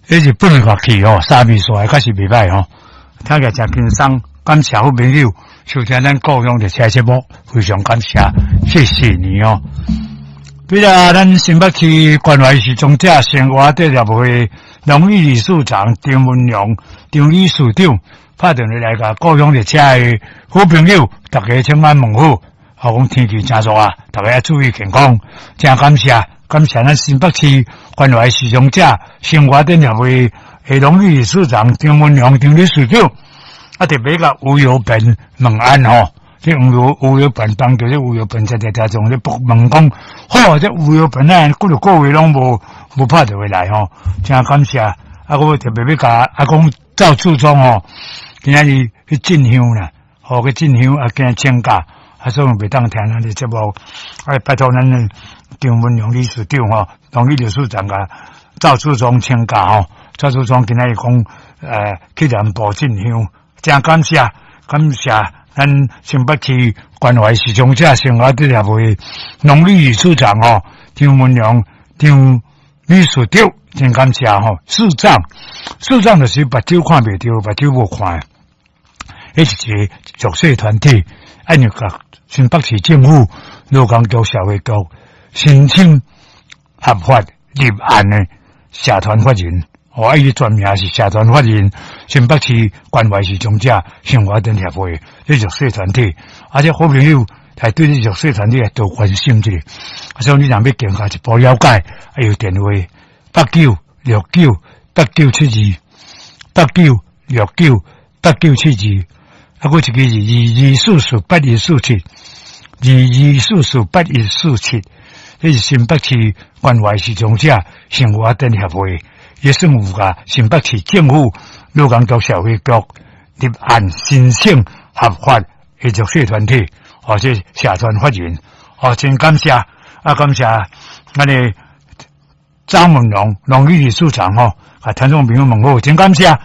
彼日本樂器吼，三味線確實袂䆀吼，聽起來誠輕鬆。感謝好朋友收聽咱故鄉列車節目，非常感謝，謝謝你哦。對啊，咱新北市關懷失聰者生活得協會榮譽理事長張文良張理事長拍電話來共故鄉列車的好朋友，大家請安問好。啊，講天氣誠熱啊，大家要注意健康。誠感謝，感謝咱新北市關懷失聰者生活得協會的榮譽理事長張文良張理事長。啊，特別共吳有本問安吼，這吳有本幫助這吳有本在在聽眾咧問講，好，這吳有本啊，幾若個月攏無拍電話來吼，誠感謝。啊，我特別欲共啊講趙處長吼，今仔日去進香啦，吼去進香啊，今請假，啊，所以袂當聽咱的節目，啊，拜託咱的張文良理事長吼，榮譽理事長共趙處長請假吼，趙處長今仔日講，去南部進香。誠感謝，感謝咱新北市關懷失聰者生活得協會榮譽理事長吼，張文良張理事長，真感謝吼。視障，視障就是目睭看袂著，目睭無看，彼是一個弱勢團體，按呢共新北市政府勞工局社會局申請合法立案的社團法人。哦，啊，伊全名是社團法人新北市關懷失聰者生活得協會，這弱勢團體，啊，這好朋友來對這弱勢團體來多關心一下。啊，所以你若欲更加一步了解，啊，有電話89698972，89698972，啊，閣一个是22448147，22448147，這是新北市關懷失聰者生活得協會。也算有共新北市政府勞工局社會局立案申請合法的弱勢團體，或者社團法人，哦，真感謝，啊，感謝咱的張文龍榮譽理事長吼，共聽眾朋友問好，真感謝。